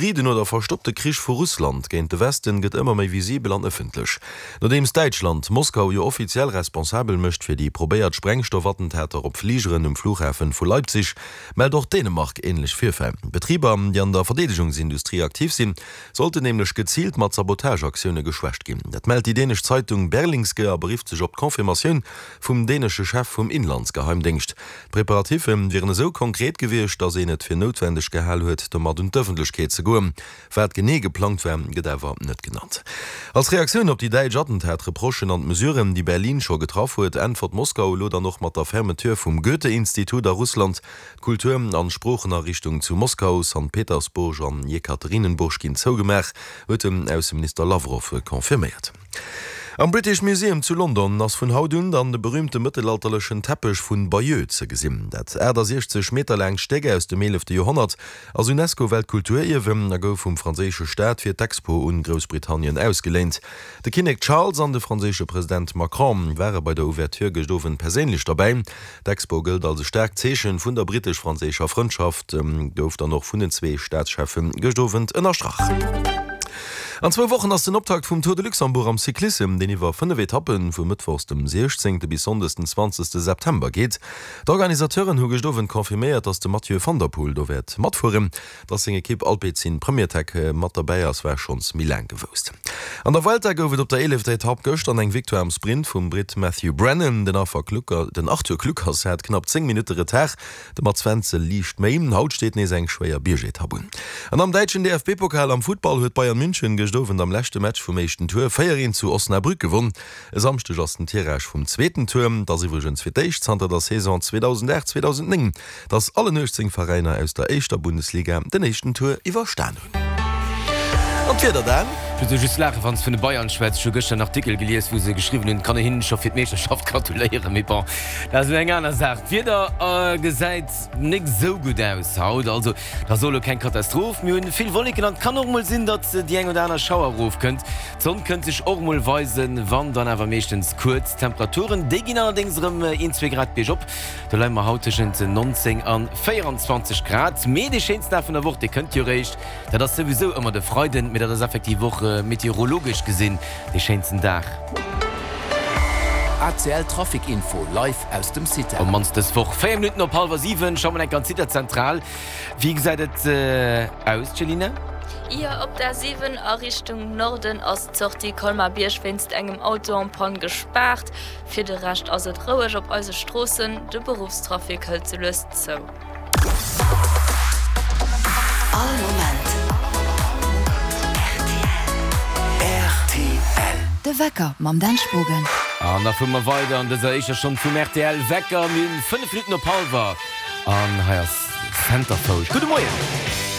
hybriden oder verstoppte Krich vu Russland géint de Westen gëtt ëmmer méi visibel an ëffentlech. Nodeems Däitschland Moskau jo offiziell responsabel mécht fir déi probéiert Sprengstoffattentater op Fligeren um Flughafen vu Leipzig, mellt och Dänemark änlech Virfäll. Betriber, déi an der Verdeedegungsindustrie aktiv sinn, sollten nämlech geziilt mat Sabotageaktioune geschwächt ginn. Dat mellt déi dänesch Zeitung Berlingske a berifft sech op d'Confirmatioun vum dänesche Chef vum Inlandsgeheimdéngscht. D'Preparatiffe wieren esou konkret gewiescht, datt een et fir noutwendeg gehal huet, domat un d'Ëffentlechkeet ze goen. Wat genee geplangt war, gëtt awer net genannt. Als Reaktioun op déi däitsch Attentat-Reprochen an d'Mesuren, déi Berlin scho getraff huet, äntwert Moskau elo dann och mat der Fermeture vum Goethe-Institut a Russland. D'Kultur an Sproochenariichtung zu Moskau, Sankt Petersburg an Jekaterinenburg ginn zougemaach, huet den Ausseminister Lawrow confirméiert. Am British Museum zu London ass vun haut un dann de berüümte mëttelalterlechen Teppech vun Bayeux ze gesinn. Dat 68 Meter laangt Stéck aus dem eelefte Joerhonnert ass Unesco-Weltkulturierwen a gouf vum franséische Staat fir d'Expo un Groussbritannien ausgeléint. De Kinnek Charles an de franséische President Macron ware bei der Ouverture gëscht Owend perséinlech derbäi. D'Expo gëllt als e staarkt Zeechen vun der brittesch-franséischer Frëndschaft, gouf dann och vun den zwee Staatscheffe gëscht Owend ënnerstrach. An zwou Wochen ass den Optakt vum Tour de Luxembourg am Cyclissem, deen iwwer 5 Etappen vu mëttwochs dem 16. bis sonndes den 20. September geet. D'Organisateuren hu gëscht Owend confirméiert, datt de Mathieu van der Poel do wäert matfueren. Datt seng Ekipp Alpecin Premier Tech mat derbäi ass, war schonns méi laang gewousst. An der Vuelta gouf et op der eelefter Etapp gëschter eng Victoire am Sprint vum Britt Matthew Brennan. Den Arthur Kluckers hat knapp 10 Minutte Retard, de Mats Wenzel liicht méi. Haut steet nees eng schwéier Biergetapp un. An am däitschen DFB-Pokal am Futtball huet Bayern München gëscht Owend am leschte Match vum éischten Tour 4, 1 zu Osnabrück gewonn. E Samschdeg ass den Tirage vum zweeten Tour. Et ass iwwregens fir d'éischt zanter der Saison 2008, 2009, dass allen 18 Veräiner aus der éischter Bundesliga den éischten Tour iwwerstan hunn. An d'Wieder dann? Ech muss just laachen, wann s vun de Bayern schwätz. Ech hu gëschter en Artikel gelies, wou se geschriwwen hunn, et kann een hinnen scho fir d'Meeschterschaft gratuléieren. Mee bon, dat ass elo eng aner Saach. D'Wieder gesäit nik esou gutt aus haut. Also, et ass och elo keng Katastroph. Mir hunn vill Wolleken an et kann och mol sinn, datt déi eng oder aner Schauer erofkënnt. D'Sonn kënnt sech och mol weisen, wann dann awer meeschtens kuerz. D'Temperaturen, déi ginn allerdéngs erëm een, zwee Grad biergop. Do leie mer haut tëschent 19 an 24 Grad. Mee dee schéinsten Dag vun der Woch, dee kënnt jo eréischt. Dat ass souwisou ëmmer de Freiden, mee dat ass effektiv och meteorologesch gesinn dee schéinsten Dag. ACL Trafic Info live aus dem CITEL. Op mannst dës Woch. 4 Minutten op hallwer 7, scho mol enk an d'Zitazentral. Wéi gesäit et aus, Céline? Jo, op der 7 a Richtung Norden ass d'Sortie Colmar-Bierg wéinst engem Auto en panne gespaart. Fir de Rescht ass et roueg op eise Stroossen, de Beruffstrafic hëlt sou lues zou. All Moment rtl. De Wecker mam Dan Spogen. An da fuere mer weider an dëser éischter Stonn vum rtl Wecker. Mir hunn 5 Minutten op hallwer an hei ass Centerfold. Gudde Moien!